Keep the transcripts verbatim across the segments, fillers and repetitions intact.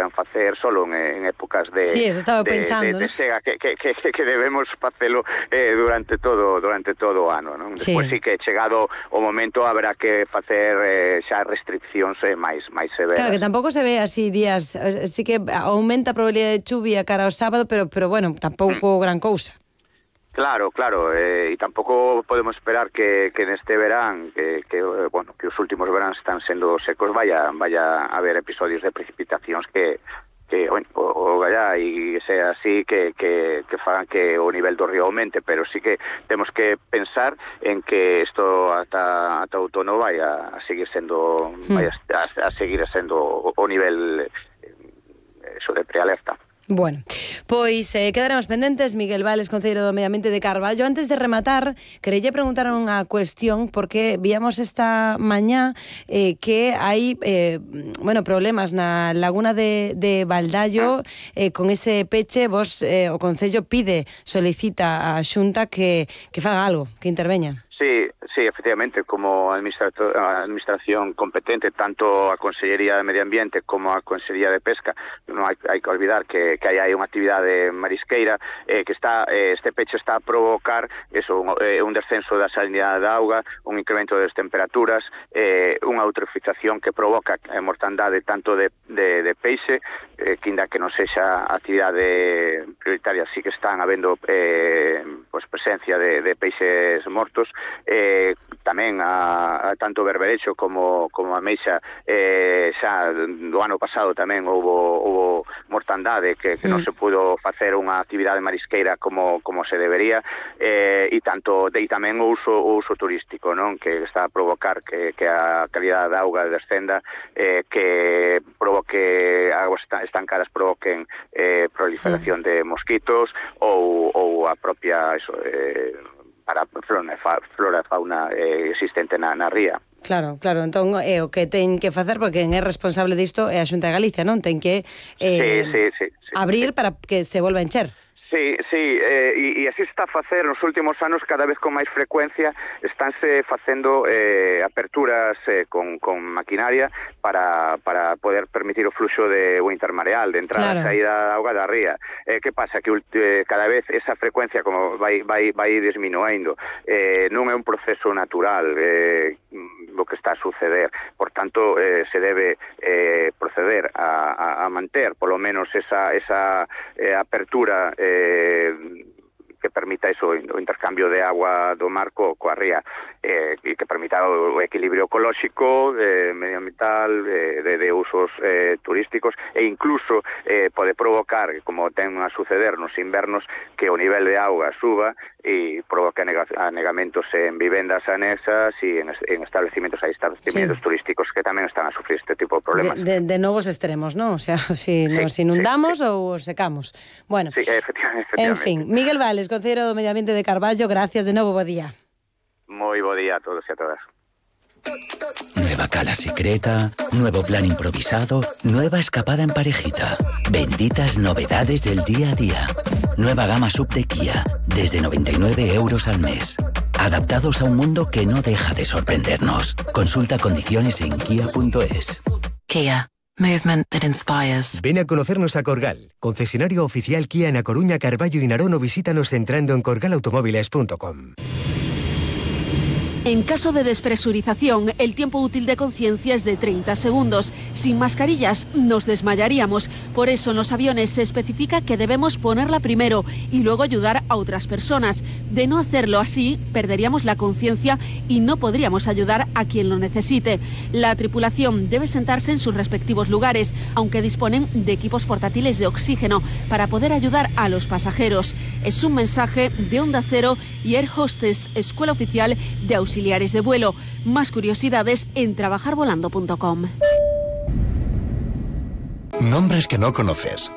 deban facer solo en, en épocas de, sí, eso estaba de, pensando, de, de, de sega, que, que, que, que debemos facelo eh, durante todo durante todo o ano, non? Despois sí. sí que chegado o momento haberá que facer eh, xa restriccións eh, máis máis severas. Claro, que tampouco se ve así días, sí que aumenta a probabilidade de chuvia cara ao sábado, pero pero bueno, tampouco mm. gran cousa. Claro, claro, e eh, tampouco podemos esperar que, que neste verán, que, que bueno, que os últimos veráns están sendo secos, vaya vaya a haber episodios de precipitacións que que, bueno, o, o gallá e sea así que, que, que fagan que o nivel do río aumente, pero sí que temos que pensar en que isto ata, ata outono vai a seguir sendo hmm. vai a, a seguir sendo o, o nivel eh, eso de prealerta. Bueno, pois eh, quedaremos pendentes. Miguel Vales, concelleiro do Medio Ambiente de Carballo. Antes de rematar, quereille preguntar unha cuestión, porque víamos esta mañá eh, que hai eh, bueno, problemas na laguna de, de Valdallo eh, con ese peche. Vos, eh, o Concello pide, solicita a Xunta que, que faga algo, que interveña. Sí, sí, efectivamente, como administración competente, tanto a Consellería de Medio Ambiente como a Consellería de Pesca, non hai, hai que olvidar que, que hai, hai unha actividade marisqueira eh, que está, eh, este peche está a provocar eso, un, eh, un descenso da salinidade da auga, un incremento das temperaturas, eh, unha eutrofización que provoca a mortandade tanto de, de, de peixe, eh, que inda que non sexa actividade prioritaria, sí que están habendo eh, pues, presencia de, de peixes mortos. Eh, tamén a, a tanto berberecho como, como a meixa eh, xa do ano pasado tamén houve, houve mortandade que, que mm. non se pudo facer unha actividade marisqueira como, como se debería eh, e tanto e tamén o uso, o uso turístico, non, que está a provocar que, que a calidad da auga descenda, eh, que provoque aguas estancadas provoquen eh, proliferación mm. de mosquitos ou, ou a propia eso, eh, para flora, flora fauna eh, existente na, na ría. Claro, claro, entón é eh, o que ten que facer, porque quen é responsable disto é a Xunta de Galicia, non? Ten que eh, sí, sí, sí, sí, abrir sí. para que se volva a encher. Sí, sí, eh, e, e así está a facer nos últimos anos, cada vez con máis frecuencia estánse facendo eh, aperturas eh, con, con maquinaria para, para poder permitir o fluxo de o intermareal, de entrada claro. e saída da auga da ría. Eh, que pasa? Que eh, cada vez esa frecuencia como vai, vai, vai disminuindo, eh, non é un proceso natural eh, o que está a suceder, por tanto eh, se debe eh, proceder a, a, a manter polo menos esa, esa eh, apertura eh, que permita eso, o intercambio de agua do mar co, coa ría, eh, e que permita o equilibrio ecolóxico, eh, medioambiental, eh, de, de usos eh, turísticos, e incluso eh, pode provocar, como ten a suceder nos invernos, que o nivel de auga suba e provoca anegamentos en vivendas anexas e en, en establecimientos, hai establecimientos sí. turísticos que tamén están a sufrir este tipo de problemas. De, de, de novos extremos, ¿no? O sea, si sí, nos inundamos sí, sí. ou secamos. Bueno, sí, efectivamente, efectivamente. En fin, Miguel Vales, concelleiro do Medio Ambiente de Carballo, gracias de novo, bo día. Moi bo día a todos e a todas. Nueva cala secreta, nuevo plan improvisado, nueva escapada en parejita. Benditas novedades del día a día. Nueva gama sub de Kia, desde noventa y nueve euros al mes. Adaptados a un mundo que no deja de sorprendernos. Consulta condiciones en kia punto es. Kia. Movement that inspires. Ven a conocernos a Corgal, concesionario oficial Kia en A Coruña, Carballo y Narón, o visítanos entrando en corgal automóviles punto com. En caso de despresurización, el tiempo útil de conciencia es de treinta segundos. Sin mascarillas nos desmayaríamos. Por eso en los aviones se especifica que debemos ponerla primero y luego ayudar a otras personas. De no hacerlo así, perderíamos la conciencia y no podríamos ayudar a quien lo necesite. La tripulación debe sentarse en sus respectivos lugares, aunque disponen de equipos portátiles de oxígeno para poder ayudar a los pasajeros. Es un mensaje de Onda Cero y Air Hostess, Escuela Oficial de Auxiliares auxiliares de vuelo. Más curiosidades en trabajar volando punto com. Nombres que no conoces.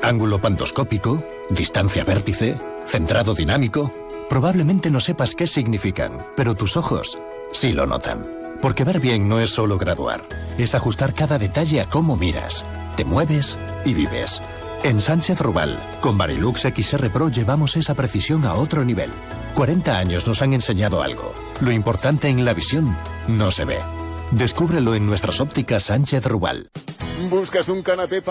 Ángulo pantoscópico, distancia vértice, centrado dinámico. Probablemente no sepas qué significan, pero tus ojos sí lo notan. Porque ver bien no es solo graduar, es ajustar cada detalle a cómo miras, te mueves y vives. En Sánchez Rubal, con Varilux X R Pro llevamos esa precisión a otro nivel. cuarenta años nos han enseñado algo. Lo importante en la visión no se ve. Descúbrelo en nuestras ópticas Sánchez Rubal. ¿Buscas un canapé